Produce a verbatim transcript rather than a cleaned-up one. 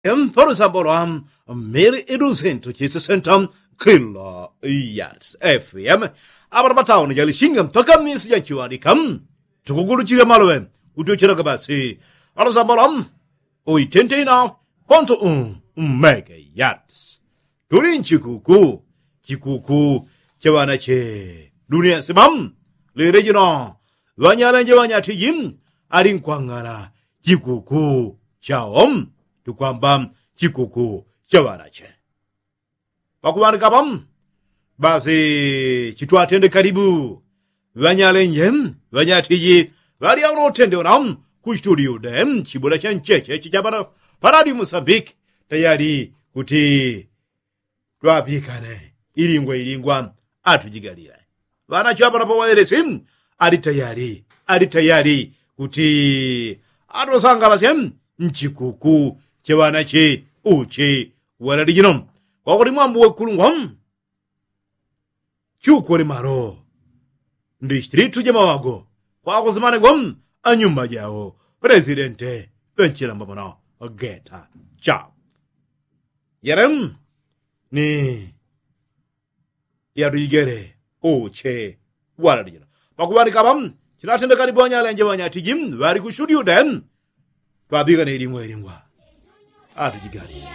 Mpolo sambolo am mili idusintu chisisenta kilo yards fm. Apano patauni jalishinga mpaka misi janchiwanika. Tukuguluchila malowe. Utuchilaka basi. Alo sambolo am oitentena ponto un mega yards. Tuli nchikuku chikuku cha ŵanache dunia nsimamu. Lile jino ŵanyalenje ŵanyatiji ali nkwang'ala chikuku chao. Tukwamba chikuku cha ŵanache pakuŵanika pamu. Basi chitwatende kalibu ŵanyalenje ŵanyatiji ŵali auno utende unamu kuchituliude chibula chancheche chichapana panadi musambiki tayali kuti twapikane ilingwa ilingwa atujigalile. Ŵanache ŵapano pawaelesi ali tayali ali tayali kuti atusangalasye nchikuku cheŵanache uche walalijino. Kwakuti mwambu wekulungwa chukole malo ndi chitilitu jamawago kwakusimanegwa anyumba jao. Presidente ŵenchilamba mwana geta cha yelem ni yatujigele uche walalijino. Pakuŵanika ŵa chinatendekali ŵanyalenje ŵanyatiji ŵali kushudi ude twapikane ilingwa ilingwa atujigalile.